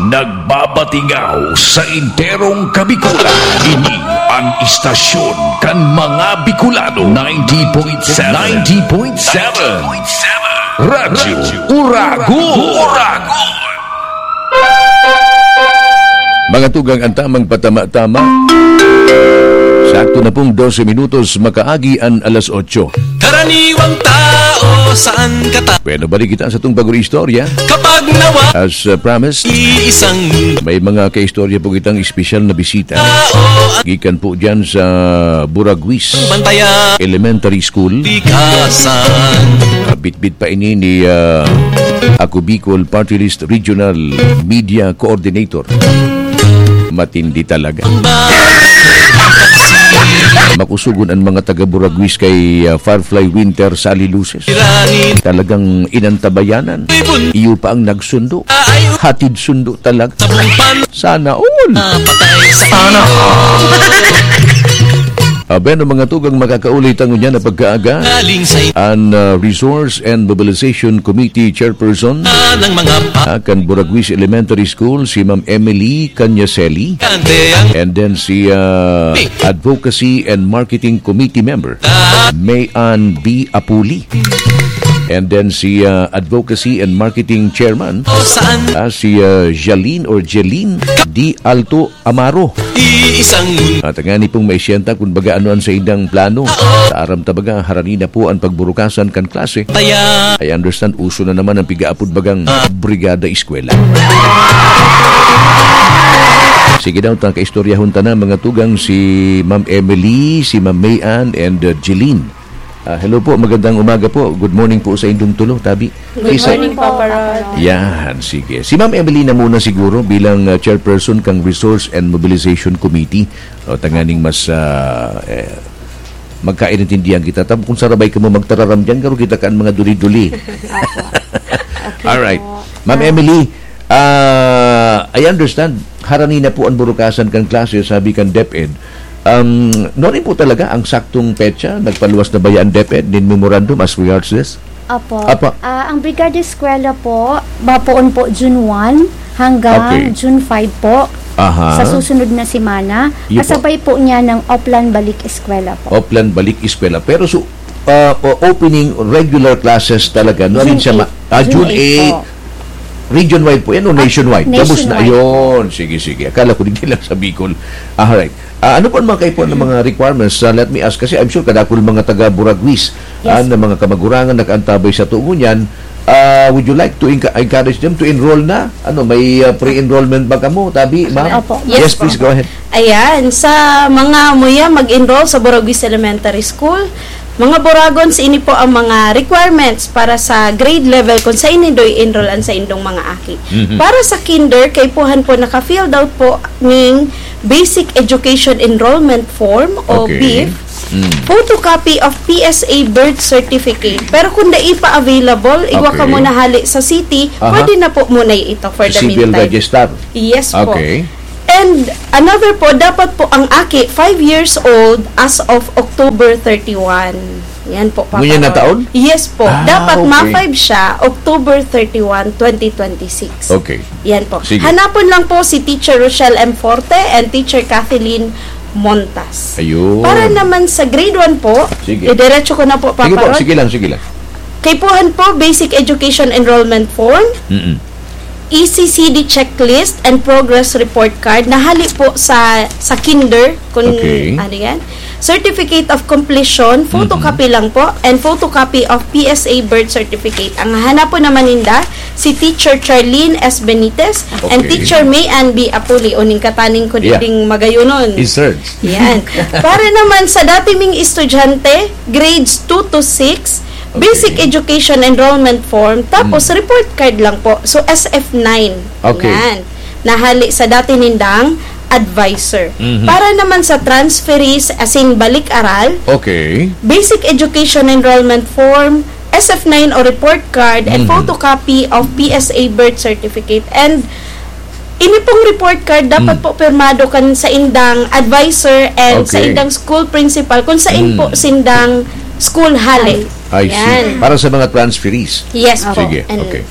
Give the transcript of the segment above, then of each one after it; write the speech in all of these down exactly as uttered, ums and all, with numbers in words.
Nagbabatingaw sa enterong Kabikulan. Ini an istasyon kan mga Bicolano. Ninety point seven. Ninety point seven. Radyo Uragon. Mga tugang, ang tamang patama-tama. Sakto na pong dose minutos makaagi an alas otso. Karaniwang tao, saan ka ta- Bueno, balik kita sa itong bagong istorya. Kapag nawa- As, uh, promised, iisang may mga kaistorya po kitang espesyal na bisita. Tao at gikan po dyan sa Buraguis Bantaya. Elementary School. Pikasan. Bitbit pa ini ni, uh, Ako Bicol Party List Regional Media Coordinator. Matindi talaga. Makusugon ang mga taga Buraguis kay, ah, Firefly Winter Sally Luces. Talagang inantabayanan. Iyo pa ang nagsundo. Hatid sundo talaga. Sana all. Sana all. Ah, ben, ang mga tugang makakauli ta ngunyan na pagkaaga. An, ah, Resource and Mobilization Committee Chairperson, ah, ng mga pa- ah, kan Buraguis Elementary School, si Ma'am Emily Canyaseli. And then si, ah, Advocacy and Marketing Committee member, May Ann B. Apuli. And then si, ah, Advocacy and Marketing Chairman, ah, si, ah, Jaline or Jeline D. Alto Amaro. Iisang mun- At ngani pong maisenta kung baga ano ang saindang plano. Sa aram ta baga, harani na po ang pagburukasan kan klase. Taya. I understand, uso na naman ang pigaapod bagang, ah, Brigada Eskwela. Sige daw, ta kaistoryahon ta na, mga tugang, si Ma'am Emily, si Ma'am Mayan, and, uh, Jeline. Ah, hello po, magandang umaga po. Good morning po sa indong tulo, tabi. Good morning po, Papa Rod. Yan, sige. Si Ma'am Emily na muna siguro bilang, uh, chairperson kang Resource and Mobilization Committee. O, tanganing mas, ah, eh, magkaintindihan kita. Tapos kung sarabay ka mo magtararam dyan, garo kita kan mga duli-duli. Apo. Okay. Alright. Po. Ma'am, ah, Emily, ah, I understand, harani na po ang burukasan kan klase, sabi kan DepEd. Um, nuarin po talaga ang saktong petsa? Nagpaluwas na ba yan, DepEd, nin memorandum as regards this? Apo. Apo. Ah, ang Brigada Eskwela po, bapoon po June one hanggang Okay. June five po. Aha. Sa susunod na semana, Iyo po. Kasabay po niya ng Oplan Balik Eskwela po. Oplan Balik Eskwela. Pero so, ah, o-, opening regular classes talaga, no? June Alin siya ma-, eight. Ah, June June eight eight. Po. Region-wide po yan o Ah, nationwide? Tapos na nationwide po. Yun. Sige, sige. Akala ko din lang sa Bicol. Ah, alright. Ah, ano po ang mga kaipuhan ng mga requirements? Ah, let me ask, kasi I'm sure kadakul mga taga Buraguis, Yes. ah, na mga kamagurangan nakaantabay sa tugon yan. Ah, would you like to enca-, encourage them to enroll na? Ano, may, ah, pre-enrollment ba kamo, tabi, ma'am? Opo. Yes Yes, po. Please go ahead. Ayan, sa mga muya mag-enroll sa Buraguis Elementary School, mga Buragon, sa ini po ang mga requirements para sa grade level kung sa ini do i-enroll ang sa indong mga aki. Mhm. Para sa kinder, kaipuhan po naka-filled out po ning Basic Education Enrollment Form o Okay. bif, Mm. photocopy of P S A birth certificate. Pero kung dai pa available, igwa ka Okay. muna hali sa city, Aha. pwede na po muna ito for the Civil meantime. Register. Yes po. Okay. And another po, dapat po ang aki five years old as of October thirty-one. Yan po, Papa Ngunyan na Ron. Taon? Yes po. Ah, Dapat okay. ma-five siya October thirty-one, twenty twenty-six. Okay. Yan po. Sige. Hanapon lang po si Teacher Rochelle M. Forte and Teacher Kathleen Montas. Ayun. Para naman sa grade one po, Sige. idiretso ko na po, Sige Papa po, Ron. Sige lang, sige lang. Kaipuhan po, Basic Education Enrollment Form, Mm-mm. E C C D checklist and progress report card na hali po sa, sa kinder, kung Okay. ano yan. Certificate of completion, photocopy Mhm. lang po, and photocopy of P S A birth certificate. Ang hahanapon naman ninda, si Teacher Charlene S. Benitez and Okay. Teacher May Ann B. Apuli, o ning kataning ko Yeah. ding magayunon. Inserts. Yan. Para naman sa dati ming estudyante, grades two to six, Okay. Basic Education Enrollment Form, tapos Mm. report card lang po. So, S F nine. Okay. Yan. Nahali sa dati nindang advisor. Mhm. Para naman sa transferees, as in balik-aral, Okay. Basic Education Enrollment Form, S F nine o report card, and Mhm. photocopy of P S A birth certificate. And ini pong report card, dapat Mm. po pirmado kan sa indang advisor and sa Okay. indang school principal kung sain po Mm. sindang school hali. I see. Yan. Para sa mga transferees. Yes po. Sige, And okay.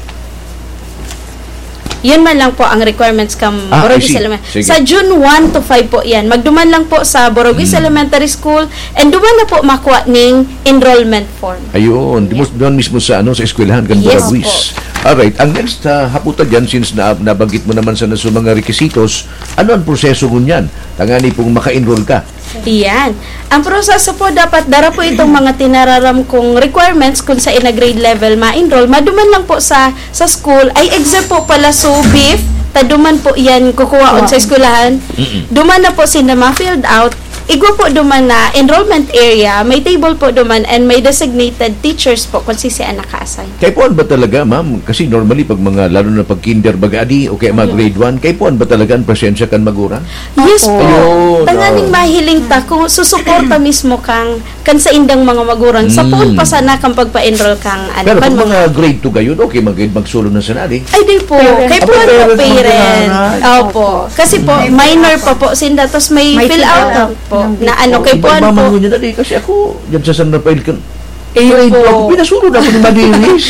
Yun man lang po ang requirements kan Ah, I Boragis see. Elemen-, Sige. sa June one to five po yan. Magduman lang po sa Boragis Mm. Elementary School and duman na po makuha ning enrollment form. Ayun, di mo Yan. doon mismo sa, ano, sa eskwelahan kan Yes Boragis. po. Alright, ang next, ah, haputa dyan, since na, nabanggit mo naman sa, sa mga requisitos, ano ang proseso ngunyan? Tangani pong maka-enroll ka. Iyan. Ang proseso po, dapat dara po itong mga tinararam kong requirements kung sa ina grade level ma-enroll. Maduman lang po sa, sa school, ay exam po pala, so bif, ta duman po yan kukuhaon sa Wow. eskwelahan. Mm-mm. Duman na po sila ma-filled out. Igwa po duman na enrollment area, may table po duman and may designated teachers po kung sisi ang naka-assign. Kaipuhan ba talaga, ma'am? Kasi normally, pag mga, lalo na pag kinder baga adi, o kaya mga Ayun. grade one, kaipuhan ba talaga ang presensya kan magurang? Yes Opo. po. Ayun, Tanganing oo. mahiling ta kung susuporta mismo kang, kan sa indang mga magurang, sa Mm. poon pa sana kang pagpa-enroll kang, ano, Pero kan pag mga mga grade two gayon, okay, mag-, magsulod na sana, di? Ay, di po. Parents. Kaipuhan Aba, po, parents, parents. magkakaray. Opo. Kasi po, May minor fill out pa po sinda, tas may May fill fill out out. lang po Ng na, ano, grade two. kaipuhan po. Iba-iba man yun, di? Kasi ako, dyan sa San Rafael, kan-, Iyo Grade po. two ako, pinasulod ako ni Madiris.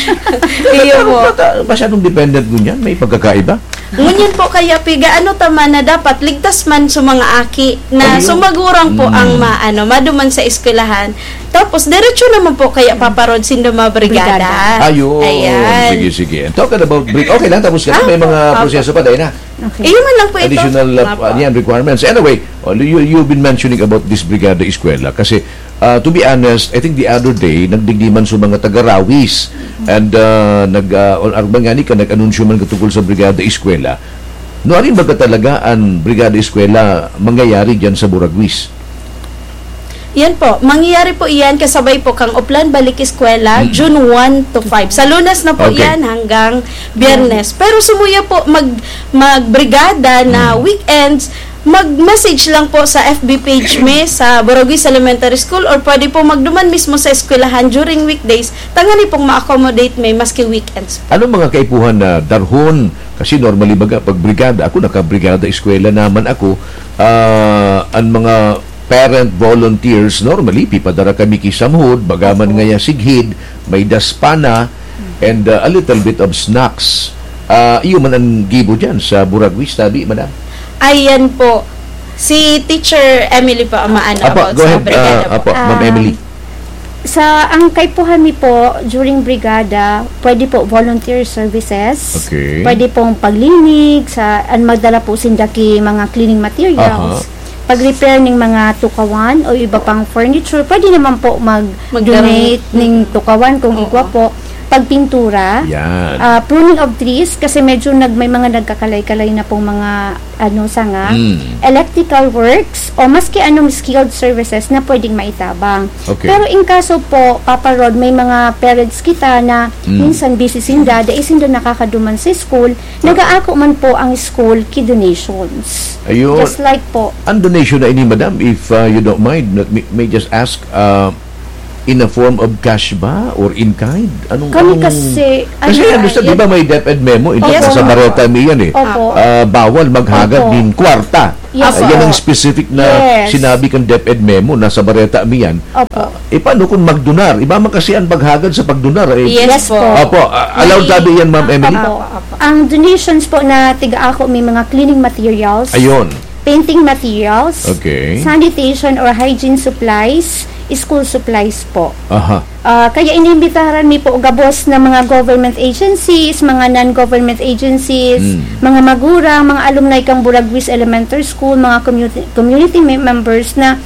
Iyo Pero po. bata, masyadong dependent ngunyan, may pagkakaiba. Ngunyan po kaya, piga, ano ta man na dapat ligtas man sa mga aki na Ayun. sumagurang po Mm. ang ma-, ano, maduman sa eskwelahan. Tapos, diretso naman po kaya paparod sindo mga brigada. Brigada. Ayun. Ayan. Sige, sige. And talking about brig-, okay lang, tapos ka na, Ah, may mga opo. proseso pa, dahil na. Okay. Iyo man lang po ito. Additional, uh, Opo. ano yan, requirements. Anyway, oh, you, you've been mentioning about this Brigada Eskwela kasi, uh, to be honest, I think the other day, nagdigdi man sa mga taga-Rawis and, uh, nag, uh, or, or man nga ni ka, nag-anunsyo man katungkol sa Brigada Eskwela. No, arin baga talaga ang Brigada Eskwela mangyayari dyan sa Boragwis? Yan po. Mangyayari po iyan kasabay po kang Oplan Balik Eskwela, Mm. June one to five. Sa Lunes na po Okay. yan hanggang Biyernes. Pero sumuya po mag-, magbrigada na Mm. weekends, mag-message lang po sa F B page mi sa Boragwis Elementary School or pwede po magduman mismo sa eskwelahan during weekdays. Tangani pong ma-accommodate mi maski weekends po. Anong mga kaipuhan na darhon? Kasi normally baga, pag brigada, ako nakabrigada eskwela naman ako, ah, ang mga parent volunteers, normally, pipadara kami ki Samhod, baga man Opo. ngaya sighid, may daspana, and, uh, a little bit of snacks. Ah, iyo man ang gibo dyan sa Buragwis, tabi, madam? Ayan po. Si Teacher Emily po ang maano Apo, about go sa ahead. Brigada Ah, po. apo, Ma'am Ah, Emily. Sa, ang kaipuhan mi po, during brigada, pwede po volunteer services. Okay. Pwede pong paglinig, sa, an magdala po sinda ki mga cleaning materials. Aha. Pag-repair ning mga tukawan o iba pang furniture, pwede naman po mag-donate Magdala. ning tukawan kung Oo. igwa po. Pagpintura, Yan. ah, pruning of trees, kasi medyo nag-, may mga nagkakalay-kalay na pong mga, ano, sanga, Mm. electrical works, o maski anong skilled services na pwedeng maitabang. Okay. Pero in kaso po, Papa Rod, may mga parents kita na Mm. minsan busy sinda, dai sinda nakakaduman sa school, Nagaako man po ang school ki donations. Ayun. Just like po. Ang donation na ini, madam, if, uh, you don't mind, let me, may just ask, uh, in a form of cash ba or in kind? Anong, Kami anong kasi, kasi ano, understand, di ba, may DepEd memo, in Yes, sa po. Bareta mi yan eh. Opo. Ah, bawal maghagad Opo. nin kwarta. Yes, Ayan po. ang specific na Yes. sinabi kan DepEd memo, nasa Bareta mi yan. Opo. Ah, eh, paano kung magdonar? Iba man kasi ang paghagad sa pagdonar, eh. Yes Yes po. po. Opo, ah, allowed May tabi yan, Ma'am Emily? Opo. Ang donations po na tiga ako, may mga cleaning materials, Ayun. painting materials, Okay. sanitation or hygiene supplies, school supplies po. Aha. Ah, kaya inimbitaran mi po gabos na mga government agencies, mga non-government agencies, Mm. mga magurang, mga alumni kang Buragwis Elementary School, mga community, community mem-, members na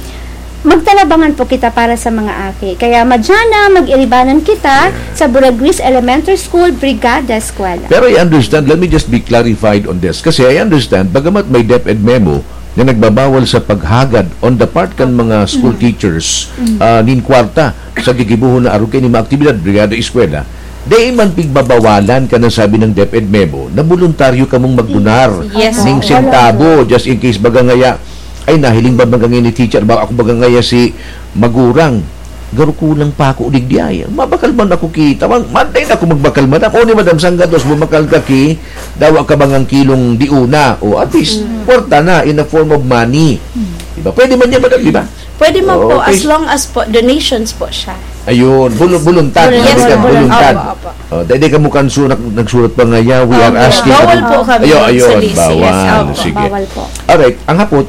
magtalabangan po kita para sa mga aki. Kaya madyana, mag-iribanan kita Yeah. sa Buragwis Elementary School, Brigada Eskwela. Pero I understand, let me just be clarified on this. Kasi I understand, bagamat may DepEd memo na nagbabawal sa paghagad on the part kan mga school Mm. teachers, Mm. ah, nin kwarta sa gigibohon na arog kaini mga aktibidad, Brigada Eskwela, dai man pigbabawalan kan sabi ng DepEd memo na boluntaryo kamong magdonar Yes. ning Opo. sentabo, just in case baga ngaya, ay, nahiling ba baga ngayon ni teacher, ba ako baga ngaya si magurang, garo kulang pa ako digdi ay. Mabakal man ako ki, tawang, man, dai na ako magbakal, madam. O ni madam, sanggados, bumakal ka ki, dawa ka bangang kilong diuna. O at least, Mm. kwarta na in a form of money. Mm. Diba? Pwede man yan, madam, di ba? Pwede man po, Okay. as long as po, donations po siya. Ayun, bulu- buluntad. Yes, Sabi ka, buluntad. Buluntad. Opo, opo. Oh, dahil di ka mo kanso nag- nagsulat pa nga, "Yeah, we are Opo. Asking." Bawal po kami Ayun, ayun, mag-solicit. Yes, bawal. opo, Sige. bawal po. Alright, ang hapot,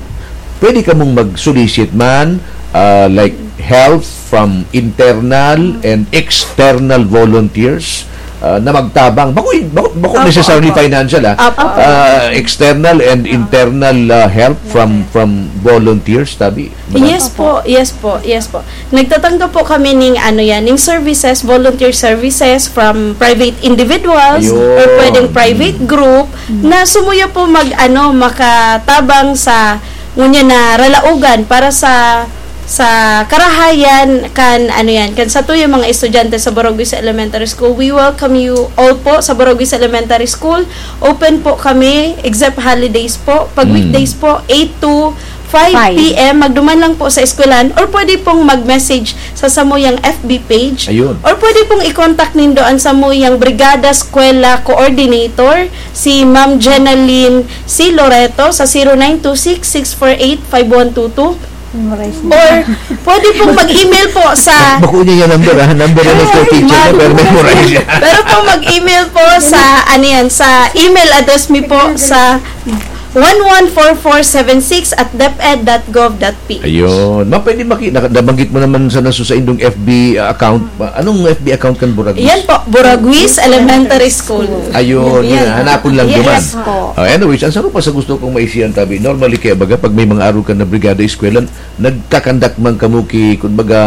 pwede ka mong mag-solicit man, ah, like, help from internal and external volunteers, ah, na magtabang. Bako, bako Opo, necessarily opo. financial, ah. Opo, opo. Ah, external and internal, ah, help from, from volunteers, tabi. Yes Opo. po, yes po, yes po. Nagtatanggap po kami ning ano yan, ning services, volunteer services from private individuals Ayun. or pwedeng private Mm. group Mm. na sumuya po mag ano, makatabang sa ngunyan na ralaogan para sa sa karahayan kan ano yan, kan satuyang mga estudyante sa Boragwis Elementary School. We welcome you all po sa Boragwis Elementary School. Open po kami except holidays po. Pag Mm. weekdays po, eight to five Five. P M, magduman lang po sa eskwelahan or pwede pong mag-message sa samuyang F B page. Ayun. Or pwede pong i-contact nindo ang samuyang Brigada Eskwela Coordinator, si Ma'am Jenaline C. Loreto, sa zero nine two six, six four eight, five one two two. Memorize mo. Or pwede pong mag-email po sa Bako niya yung number, ha? Number na ito, Ay, teacher niya, pero memorize niya. Pero po mag-email po sa, ano yan, sa email address mi po sa one one four four seven six at deped dot gov dot P H. Ayun. Ma, pwede maki-, naka-, nabanggit mo naman sa nasu sa indong F B account. Ma, anong F B account kan Boragwis? Yan po, Boragwis Elementary School. Ayun, Yan. yun. Hanapon lang Yes duman. po. Oh, anyways, ang saro pa sa gusto kong maisiyan, tabi, normally kaya baga, pag may mga araw ka na brigada eskwela, nagkakandak man kamo ki, kumbaga,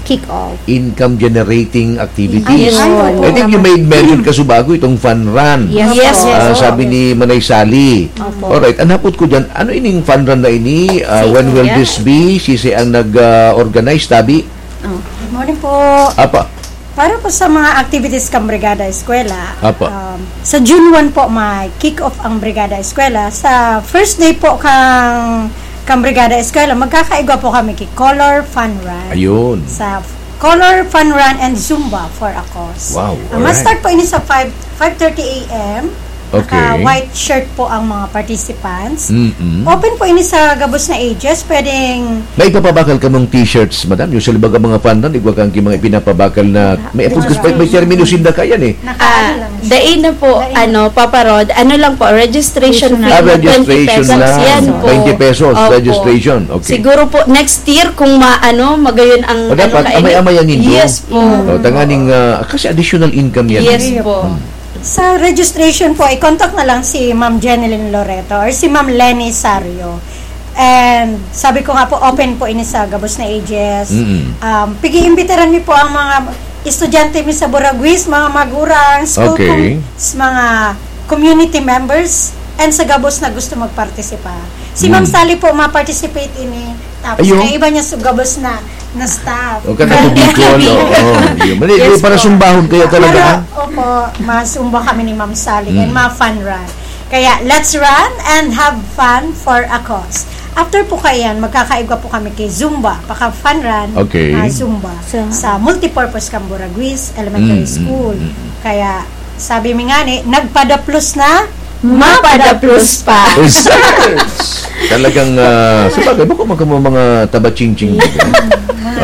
Kick off. income generating activities. Ayun. I think you made mention kasubago itong fun run. Yes Yes po. po. Ah, sabi ni Manay Sally. Opo. Alright, ang hapot ko dyan, ano ining fun run na ini? Ah, Sino when will yan? this be? Sisi ang nag-, ah, organize, tabi? Oh. Good morning po. Apa? Para po sa mga activities kang Brigada Eskwela, Apa? um, sa June one po may kick-off ang Brigada Eskwela. Sa first day po kang, kang Brigada Eskwela, magkakaigwa po kami ki Color Fun Run. Ayun. Sa Color Fun Run and Zumba for a Cause. Wow, Ang alright. ma-start po ini sa five, five thirty A M. Okay. Naka-white shirt po ang mga participants. Mm-mm. Open po ini sa gabos na ages. Pwedeng May ipapabakal kamong t-shirts, madam? Usually, baga mga fun run, igwa kang ki-, mga ipinapabakal na may Wala. apod kas-, may, may termino sinda kayan eh. Naka-, Ah, ano lang siya. dai na po, Dai na. ano, Papa Rod, ano lang po, registration fee Ah, na registration twenty pesos. lang. Yan po. Twenty pesos, Opo. registration. Okay. Siguro po, next year, kung ma-, ano, magayon ang, O, ano, dapat, kaini- amay-amayan nindo. Yes po. O, tanganing, ah, kasi additional income yan. Yes Ayun. po. Hmm. Sa registration po, i-contact na lang si Ma'am Jeneline Loreto or si Ma'am Lenny Sario. And sabi ko nga po, open po ini sa gabos na ages. Mm-mm. Um, pag-iimbitaran mi po ang mga estudyante mi sa Boragwis, mga magurang, school Okay. com-, s-, mga community members, and sa gabos na gusto magpartisipa. Si Ma'am Mm. Sally po, ma-participate ini. Tapos Ayun. may iba niya sa gabos na, na staff. O, ka na Kaya po, Bicol, oo, yun. Mali, Yes para po. sumbahon kayo talaga, Para, ha? opo, masumba kami ni Ma'am Sally and Mm. ma-fun run. Kaya, let's run and have fun for a cause. After po kayan, magkakaigwa po kami kay Zumba, paka-fun run, Okay. ah, Zumba, Sa sa multipurpose Camburagwis Elementary Mm, mm, School. mm, mm. Kaya, sabi mi nga ni, nagpadaplos na, Mapadaplos pa. Yes. Talagang, ah, sa bagay, bako man kamo mga taba-ching-ching. Mga,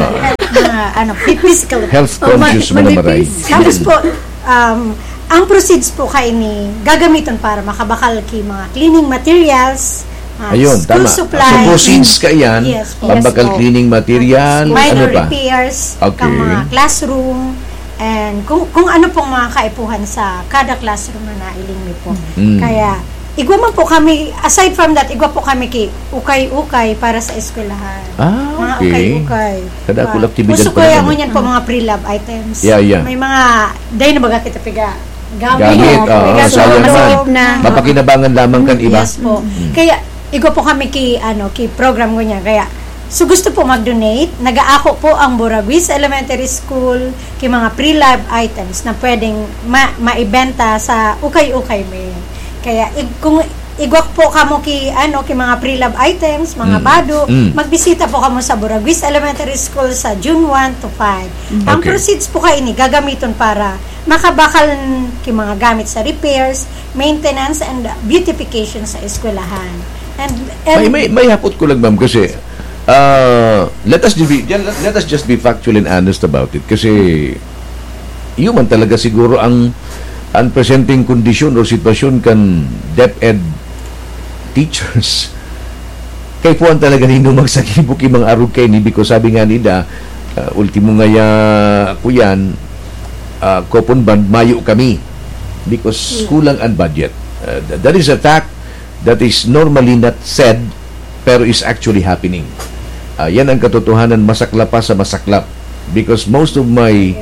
Ah. mga, ano, physical. Health Oh, conscious ma-, mo na manipis. maray. Tapos po, um, ang proceeds po kaini gagamiton para makabakal ki mga cleaning materials, ah, Ayun, school tama. supplies. So, proceeds ka yan, Yes po. pambakal Yes po. cleaning material, Minor ano pa? repairs, Okay. kang mga classroom, and kung, kung ano pong mga kaipuhan sa kada classroom na nailing mi po. Mm. Kaya, igwa man po kami, aside from that, igwa po kami ki ukay-ukay para sa eskwelahan. Ah, Mga okay. ukay-ukay. Kadakul Ah, aktibidad uso pa kaya naman. ngunyan po mga pre-lab items. Yeah, yeah. May mga, dahil na baga kita piga gamit. Gamit, Piga oo, sa sayang loob man. na. Mapakinabangan lamang kan iba. Yes po. Mm. Kaya, igwa po kami ki, ano, ki program ngunyan. Kaya, so gusto po mag-donate, nag-aako po ang Boragwis Elementary School ki mga pre-lab items na pwedeng ma-, maibenta sa ukay-ukay mi. Kaya, ig-, kung igwa po kamo ki, ano, ki mga pre-lab items, mga Mm. bado, Mm. magbisita po kamo sa Boragwis Elementary School sa June one to five. Mm. Ang Okay. proceeds po kaini gagamiton para makabakal ki mga gamit sa repairs, maintenance, and beautification sa eskwelahan. And, and May, may, may hapot ko lang, ma'am, kasi Ah, let us be, let, let us just be factual and honest about it. Kasi, yun man talaga siguro ang, ang presenteng kondisyon o sitwasyon kan DepEd teachers. Kaipuhan talaga nindo magsakibo ki mga arog kaini, because sabi nga nila, ah, ultimo ngaya, kuyan, ah, coupon bond, mayo kami. Because Hmm. kulang ang budget. Ah, th-, that is a fact that is normally not said, pero is actually happening. Ah, yan ang katotohanan, masaklap pa sa masaklap. Because most of my,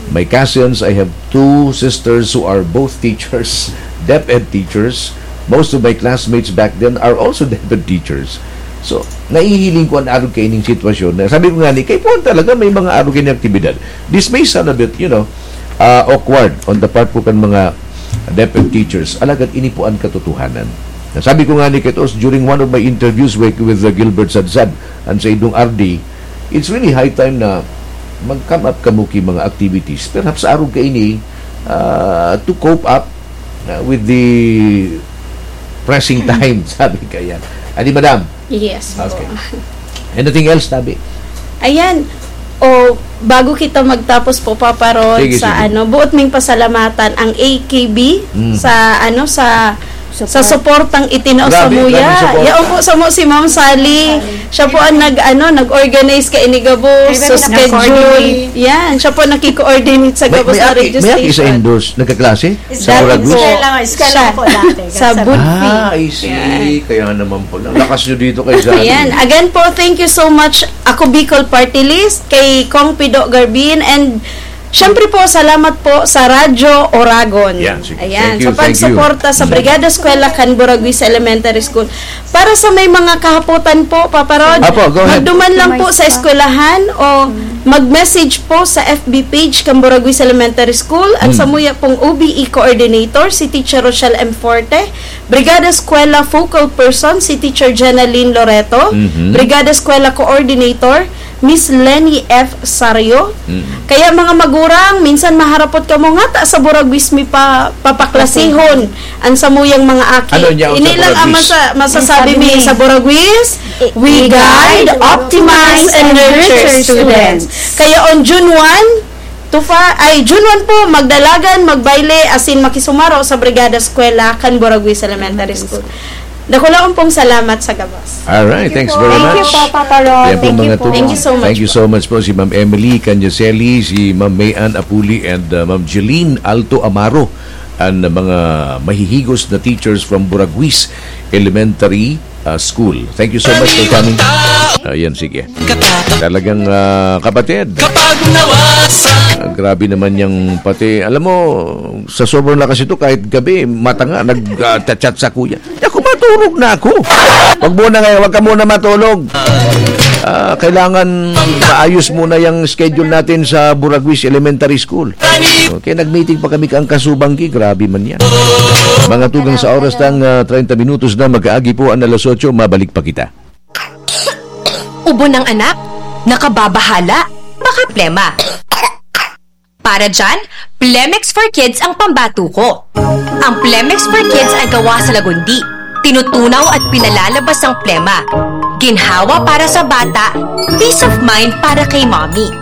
my cousins, I have two sisters who are both teachers, DepEd teachers. Most of my classmates back then are also DepEd teachers. So, nahihiling ko ang arog kaining sitwasyon. Na sabi ko nga ni, kaipuhan talaga may mga arog kaining aktibidad. This may sound a bit, you know, ah, awkward on the part po kan mga DepEd teachers. Alagad ini po ang katotohanan. Sabi ko nga ni Ketos, during one of my interviews with, with, uh, Gilbert Sadsad, and sa idong R D, it's really high time na mag-come up kamo ki mga activities. Perhaps arog kaini, ah, to cope up, ah, with the pressing time, sabi kaya. Adi, madam? Yes po. Okay. Anything else, tabi? Ayan. O, bago kita magtapos po, Papa Rod, Sige, sa sige. ano, buot ming pasalamatan ang A K B Mm. sa, ano, sa, sa Support. suportang itinao sa Grabe, muya. grabe support. Yaon po sa mo si Ma'am Sally. Siya po ang nag, ano, nag-organize ka inigabos Ay, sa very schedule. nag-coordinate. Yan, siya po nakiko-coordinate sa May, gabos may na aki, radio may aki sa station. Indos, nagkaklase? Sa Dati Buragos? po. Eskwela, eskwela Siya. po dati. Sa Sa Budfi. Ah, I see. Yan. Kaya naman pala. Lakas nyo dito kay Sally. Ayan. Again po, thank you so much. Ako Bicol Party List, kay Kong Pido Garbin, and syempre po, salamat po sa Radyo Oragon. Yan, sige. Ayan, Thank you, sa thank you. pagsuporta sa Mm. Brigada Eskwela kan Buraguis Elementary School. Para sa may mga kahapotan po, Papa Rod, Apo, go ahead. magduman lang po Customize sa pa. eskwelahan o Mm. mag-message po sa F B page kan Buraguis Elementary School. Ang Mm. samuya pong O B E coordinator, si Teacher Rochelle M. Forte. Brigada Eskwela focal person, si Teacher Jenaline Loreto. Mhm. Brigada Eskwela coordinator, Miss Lenny F. Sario. Mhm. Kaya, mga magurang, minsan maharapot kamo, ngata sa Buraguis mi pa, papaklasihon an samuyang mga aki. Ano niya, Ini sa lang ang Buraguis? masa-, masasabi Ang sabi mi ni sa Buraguis, I-, we i-, guide, guide, optimize, and nurture students. Kaya on June one, Tufa, ay, June one po, magdalagan, magbayle, asin makisumaro sa Brigada Eskwela kan Buraguis Elementary School. Dakulaon pong salamat sa gabos. Alright, Thank you thanks po. very Thank you much. po, Papa Ron. Yan po, Thank you mga po. tugang. Thank you so much Thank you po. so much po, si Ma'am Emily Canyaseli, si Ma'am May Ann Apuli, and, uh, Ma'am Jeline Alto Amaro, ang mga mahihigos na teachers from Buraguis Elementary, uh, School. Thank you so much for coming. Ayan, sige. Talagang, ah, kapatid. Kapag nawasa. Ah, grabe naman yang pati, alam mo, sa sobrang lakas ito, kahit gabi, mata nga, nag, ah, chat-chat sa kuya. Di ako, matulog na ako. Wag muna ngayon, wag ka muna matulog. Ah, kailangan maayos muna yung schedule natin sa Buraguis Elementary School. Okay, nag-meeting pa kami kang Kasubanggi. Grabe man yan. Mga tugang, sa oras ng, ah, treinta minutos na mag-aagi po ang alas otso, mabalik pa kita. Ubo ng anak? Nakababahala? Baka plema. Para dyan, Plemex for Kids ang pambato ko. Ang Plemex for Kids ay gawa sa lagundi. Tinutunaw at pinalalabas ang plema. Ginhawa para sa bata, peace of mind para kay mommy.